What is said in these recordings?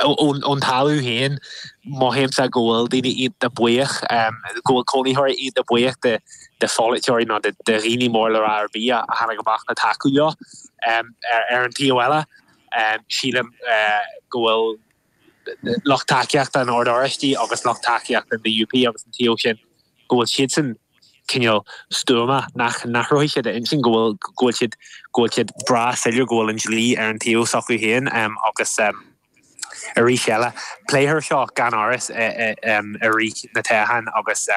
Ón talamh féin, mothaímse go bhfuil daoine iontach buíoch, go bhfuil cónaitheoirí iontach buíoch de de pholaiteoirí nó de dhaoine mór le rá ar bith a tháinig amach le tacú leo. Ar an taobh eile, sílim go bhfuil lucht tacaíochta an Oird Oráistigh agus lucht tacaíochta an DUP agus an taobh sin, go bhfuil siadsan cineál stuama, nach n-athróidh siad a intinn, go bhfuil, go bhfuil siad, go bhfuil siad breá soiléir go bhfuil an dlí ar an taobh s'acu féin agus arís eile, pléifear seo gan amhras i rith na toghcháin agus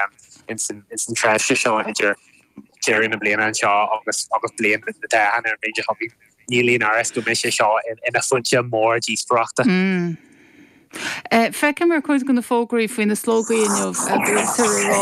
ins an tréimhse seo idir deireadh na bliana anseo agus agus bliain na toghcháin ar an bhliain seo chugainn. Níl aon amhras go mbeidh sé seo ina phointe mór díospóireachta. Feicim ar chuid de na fógraí faoi na slógaí inniu go bhfuiltear ag rá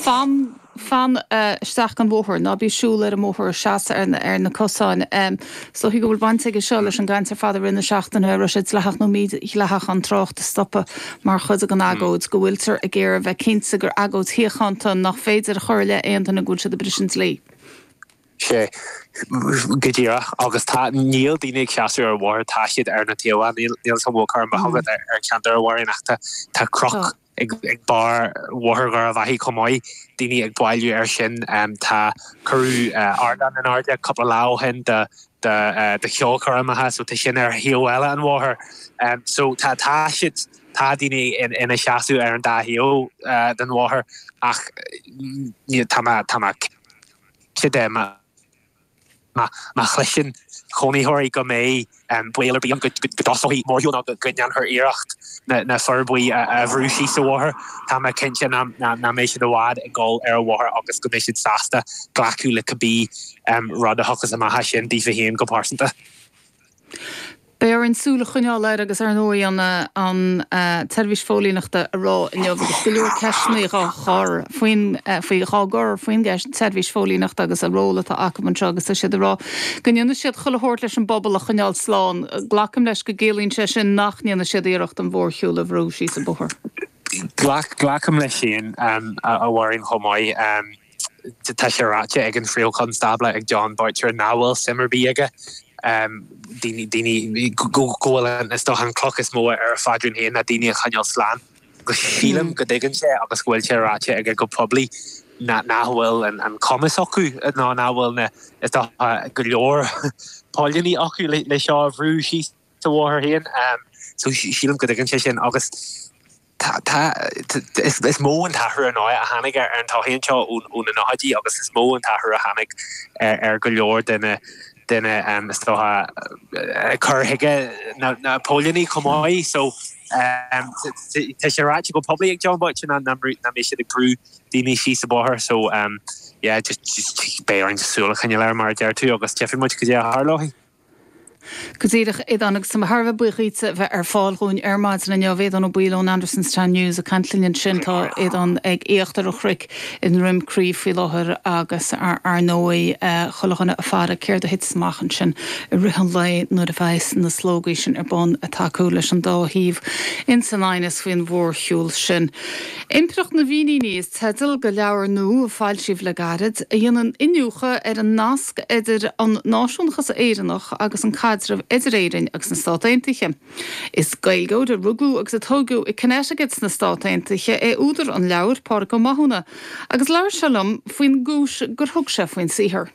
fan, fan isteach an bhóthar, ná bí ag siúl ar an mbóthar, seas ar na cosáin. Is dóichí go bhfuil baint aige seo leis an gcaint ar fad i rith na seachtaine, an raibh sé dleathach nó mídhleathach an trácht a stopadh mar chuid den agóid, go bhfuiltear ag iarraidh a bheith cinnte gur agóid shíochánta nach féidir a chur i leith aon duine go bhfuil siad ag briseadh an dlí. Sea, go díreach. Agus tá, níl daoine ag seasamh ar an bhóthar, tá siad ar na taobhanna. Níl a fhios agam an bhfuil cur amach agat ar cheantar a Mháirín ach tá, tá cnoc ag, ag barr Bhóthar Dhoire Bheathaigh chomh maith, daoine ag bailiú air sin. Tá, cuireadh ardán in airde cúpla lá ó shin do, do, do cheolchoirmeacha so tá sin ar thaobh eile an bhóthair. So tá, tá siad, tá daoine ina seasamh ar an dá thaobh den bhóthar ach tá mé, tá mé, cinnte má chloiseann cónaitheoirí go mbeidh baol ar bith ann go dtosóidh mórshiúl nó go ndéanfar iarracht na fir buí a bhrú síos an bhóthar, tá mé cinnte nach mbeidh siad i bhfad ag dul ar an bhóthar agus go mbeidh siad sásta glacadh le cibé rud a thiocfas amach as sin daofa féin go pearsanta. Beidh orainn súil a choinneáil air agus ar ndóigh an an tSeirbhís Phóilíneachta a rá inniu agus go leor ceisteanna dhá chur faoin faoi dhá gcur faoin gceist tSeirbhís Phóilíneachta agus an ról atá acu anseo agus tá siad ag rá go ndéanfaidh siad chuile shórt leis an bpobal a choinneáil slán. Glacaim leis go gciallaíonn sé sin nach ndéanfaidh siad iarracht an mhórshiúl a bhrú síos an bóthar. Glacaim leis sin a Mháirín chomh maith. Tá sé ráite ag an Phríomh-Chonstábla, ag Jon Boutcher, nach bhfuil suim ar bith aige daoine, daoine, go bhfuil an, is dócha, an cloch is mó ar a phaidrín féin ná daoine a choinneáil slán. Agus sílim go dtuigeann sé agus go bhfuil sé ráite aige go poiblí nach bhfuil an cumas acu nó nach bhfuil na, is dócha, go leor póilíní acu le seo a bhrú síos an bhóthar féin. So sílim go dtuigeann sé sin agus. Tá, tá, is mó an t-athrú ar ndóigh a tháinig ar an tsochaí anseo ó na nóchaidí agus is mó an t-athrú a tháinig ar go leor de na, de na, is dócha, cur chuige na póilíní chomh maith. So, tá sé ráite go poiblí ag Jon Boutcher nach mbeidh siad ag brú daoine síos an bóthar. So, yeah, just, just beidh orainn súil a choinneáil air mar a deir tú agus tchífidh muid cad é a tharlóidh. Go díreach, Aodán, agus tá mé thar a bheith buíoch dhíotsa a bheith ar fáil dhúinn ar maidin inniu. Aodán Ó Baoill ón Andersonstown News ag caint linn ansin. Tá Aodán ag íochtar an chnoic i nDroim Crí faoi láthair agus ar ndóigh chuile dhuine ag faire céard a thitfeas amach ansin i rith an lae nuair a bheas na slógaí sin ar bun ag tacú leis an dá thaobh ins an aighneas faoin mhórshiúl sin. Impireacht na bhFíníní is teideal do leabhar nua a foilsíodh le gairid, a dhéanann iniúchadh ar an nasc idir an náisiúnachas Éireannach agus an caidreamh idir Éirinn agus na Stát Aontaithe. Is Gaeilgeoir a rugadh agus a tógadh i Connecticut sna Stát Aontaithe é údar an leabhair, Pádraig Ó Mathúna, agus labhair sé liom faoin gcúis gur thug sé faoin saothar.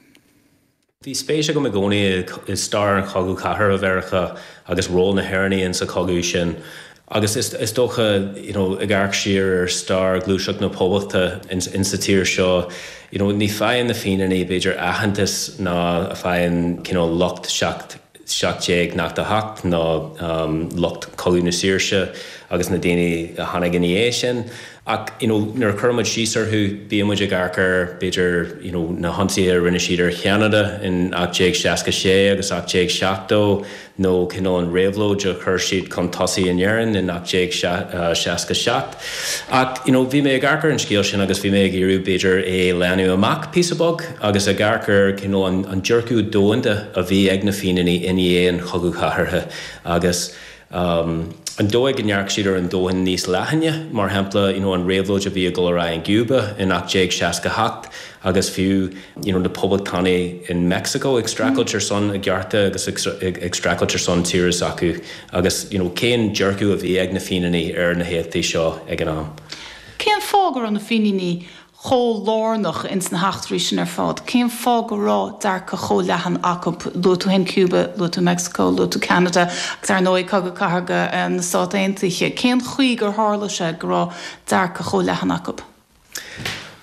Bhí spéis agam i gcónaí i stair an Chogadh Cathartha Mheiriceá agus ról na hÉireann insa chogadh sin. Agus is dócha, you know, ag amharc siar ar stair Ghluaiseacht na Poblachta insa tír seo, you know, ní faigheann na Fíníní b'fhéidir aitheantas ná a faigheann cineál lucht 1798 nó lucht Chogadh na Saoirse agus na daoine a tháinig ina dhiaidh sin. Ach, you know, nuair a chuireann muid síos orthu, bíonn muid ag amharc ar, b'fhéidir, you know, na hionsaithe a rinne siad ar Cheanada in 1866 agus 1870 nó cineál an réabhlóid a chuir siad chun tosaigh in Éirinn in 1867. Ach, you know, bhí mé ag amharc ar an scéal sin agus bhí mé ag iarraidh, b'fhéidir, é a leathnú amach píosa beag agus ag amharc ar cineál an, an dearcadh domhanda a bhí ag na Fíníní i ndiaidh an Chogadh Chathartha agus. An dóigh go ndearc siad ar an domhan níos leathaine, mar shampla, you know, an réabhlóid a bhí ag dul ar aghaidh in gCuba in 1868 agus fiú, you know, na poblachtánaigh in Meicsiceo ag streachailt ar son a gcearta agus ag streachailt ar son tíre s'acu agus, you know, cén dearcadh a bhí ag na Fíníní ar na héachtaí seo ag an am. Cén fáth go raibh na Fíníní chomh lárnach ins na heachtraí sin ar fad? Cén fáth go raibh dearcadh chomh leathan acu? Luaigh tú féin Cuba, luaigh tú Mexico, luaigh tú Ceanada agus ar ndóigh Cogadh Cathartha na Stát Aontaithe. Cén chaoi gur tharla sé go raibh dearcadh chomh leathan acu?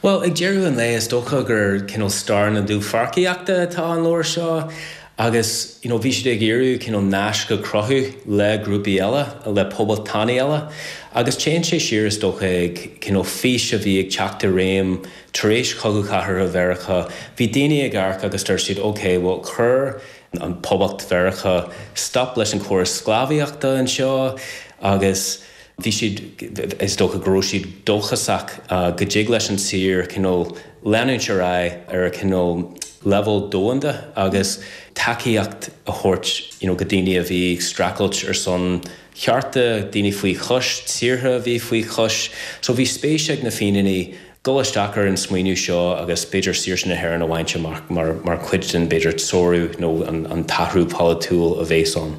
Bhuel, ag deireadh an lae is dócha gur cineál stair na dúpháircíochta atá an leabhar seo agus you know bhí siad ag iarraidh cineál naisc a chruthú le grúpaí eile, le poblachtánaigh eile agus téann sé siar is dócha ag cineál fís a bhí ag teacht i réim tar éis Chogadh Chathartha Mheiriceá. Bhí daoine ag amharc agus dúirt siad ok, bhuel chuir an Poblacht Mheiriceá stop leis an chóras sclábhaíochta anseo agus Bhí siad, is dócha go raibh siad dóchasach go dtig leis an tír cineál leanúint ar aghaidh ar a cineál leibhéal domhanda agus tacaíocht a thabhairt you know go daoine a bhí ag streachailt ar son chearta, daoine faoi chois, tíortha a bhí faoi chois. So bhí spéis ag na Fíníní dul isteach ar an smaoineamh seo agus b'fhéidir saoirse na hÉireann a bhaint amach mar mar chuid den b'fhéidir toradh nó an an t-athrú polaitiúil a bhéas ann.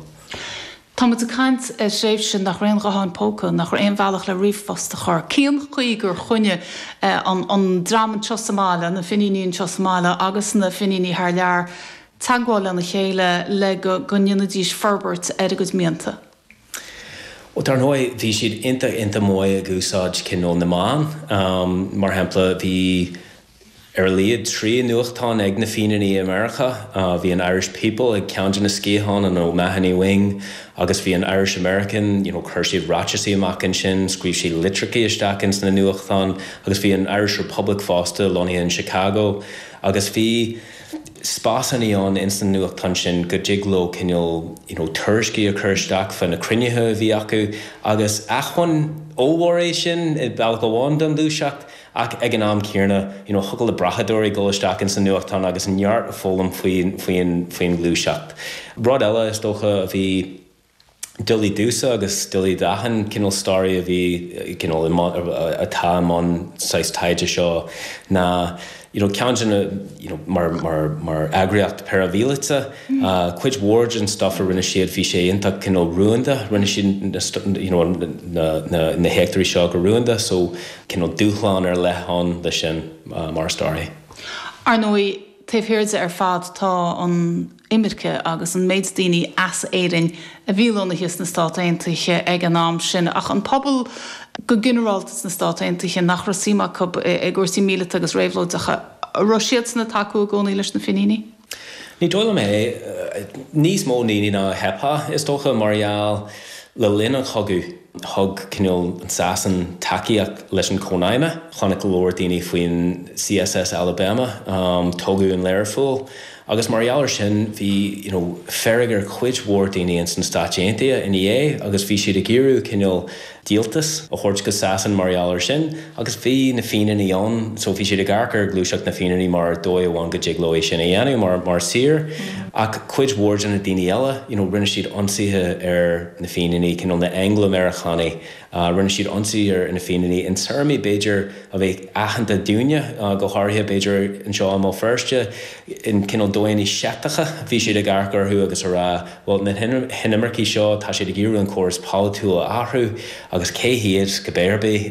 Tá muid ag caint ar thréimhse nach raibh aon ghutháin póca, nach raibh aon bhealach le ríomhphost a chur. Cén chaoi gur choinnigh an dream anseo sa mbaile, na Finíní anseo sa mbaile agus na Finíní thar lear, teagmháil lena chéile le go ndéanfaidís forbairt ar a gcuid mianta? Bhuel, dar ndóigh, bhí siad iontach, iontach maith ag úsáid cineál na meán. Mar shampla, bhí. Ar a laghad 3 nuachtán ag na Fíníní i Meiriceá. Bhí an Irish People ag ceann de na sciatháin, an O'Mahony Wing, agus bhí an Irish American, you know, chuir siad ráiteasaí amach ansin, scríobh siad litreachaí isteach ins na nuachtáin, agus bhí an Irish Republic fosta lonnaithe in Chicago. Agus bhí spásannaí ann ins na nuachtáin sin go dtig leo cineál, you know, tuairiscí a chur isteach fá na cruinnithe a bhí acu. Agus acmhainn ollmhór é sin i bealach amháin don ghluaiseacht. Ach ag an am céanna, you know, thiocfadh le brathadóirí dul isteach ins an nuachtán agus neart a foghlaim faoin, faoin, faoin ghluaiseacht. Rud eile, is dócha, a bhí doiligh domhsa agus doiligh d'achan cineál staraí a bhí cineál i mbun, atá i mbun saghas taighde seo ná, you know, ceann de na, you know, mar, mar, mar eagraíocht paraimhíleata, Cuid mhór den stuff a rinne siad, bhí sé iontach cineál rúnda, rinne siad you know na heachtraí seo go rúnda so cineál dúshlán ar leith ann leis sin mar staraí. Ar ndóigh, taobh thiar de ar fad tá an imirce agus an méid daoine as Éirinn a bhí lonnaithe sna Stáit Aontaithe ag an am sin. Ach an pobal go ginearálta sna Stáit Aontaithe nach raibh suim acu i gcúrsaí míleata agus réabhlóideacha, an raibh siadsan ag tacú i gcónaí leis na Finíní? Ní dóigh liom é. Níos mó ndaoine ná a cheapfá, is dócha, mar gheall, le linn an chogaidh, thug cineál an Sasain tacaíocht leis an Chónaidhme. Chonaic go leor daoine faoin CSS Alabama, tógadh in Learpholl, agus mar gheall ar sin bhí, you know, fearg ar chuid mhór daoine ins na Stáit Aontaithe ina dhiaidh agus bhí siad ag iarraidh cineál díoltas a thabhairt go Sasain mar gheall ar sin agus bhí na Fíníní ann so bhí siad ag amharc ar ghluaiseacht na Fíníní mar dóigh amháin go dtig leo é sin a dhéanamh mar mar thír ach cuid mhór de na daoine eile you know rinne siad ionsaithe ar na Fíníní cineál na Angla-Meiriceánaigh rinne siad ionsaí ar na Fíníní in téarmaí b'fhéidir a bheadh aitheanta dúinne go háirithe b'fhéidir anseo i mBéal Feirste in cineál dóigheanna seicteacha bhí siad ag amharc orthu agus a rá Bhuel, na hinimircigh seo, tá siad ag iarraidh an córas polaitiúil a athrú agus cé hiad, cibé ar bith,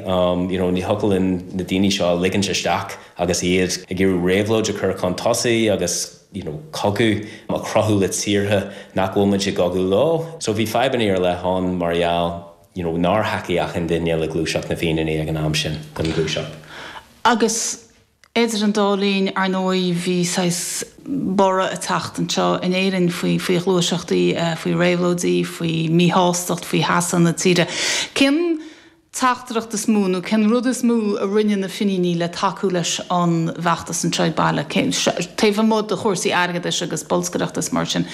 you know, ní thiocfadh linn na daoine seo a ligint isteach agus iad ag iarraidh réabhlóid a chur chun tosaigh agus, you know, cogadh a chruthú le tíortha nach bhfuil muid i gcogadh leo. So bhí fadhbanna ar leith ann mar gheall, you know, nár thacaigh achan duine le gluaiseacht na bhFíníní ag an am sin, don ghluaiseacht. Agus Idir an dá linn, ar ndóigh, bhí saghas borradh ag teacht anseo in Éirinn faoi faoi ghluaiseachtaí, faoi réabhlóidí, faoi mhíshástacht, faoi theasa na tíre. Cén teachtaireacht is mó nó cén rud is mó a rinne na Finíní le tacú leis an bhfeachtas anseo ag baile, taobh amuigh de chúrsaí airgeadais agus bolscaireachta is mar sin,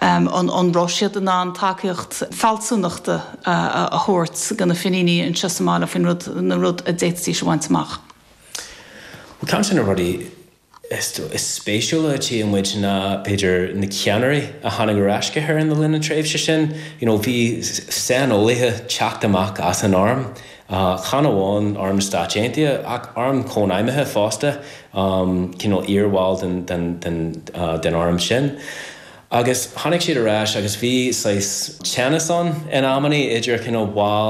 an raibh siad in ann tacaíocht fealsúnachta a thabhairt do na Finíní anseo sa mbaile faoin rud, na rud a d'fhéadfaidís a bhaint amach? Bhuel, ceann de na rudaí Is spéisiúla a tchíonn muid ná, b'fhéidir, na ceannairí a tháinig ar ais go hÉirinn le linn na tréimhse sin. You know, bhí saineolaithe teacht amach as an arm, chan amháin Arm na Stáit Aontaithe ach arm cónaidhmithe fosta, cineál iarbhaill den arm sin. Agus tháinig siad ar ais agus bhí saghas teannas ann in amannaí idir cineál baill.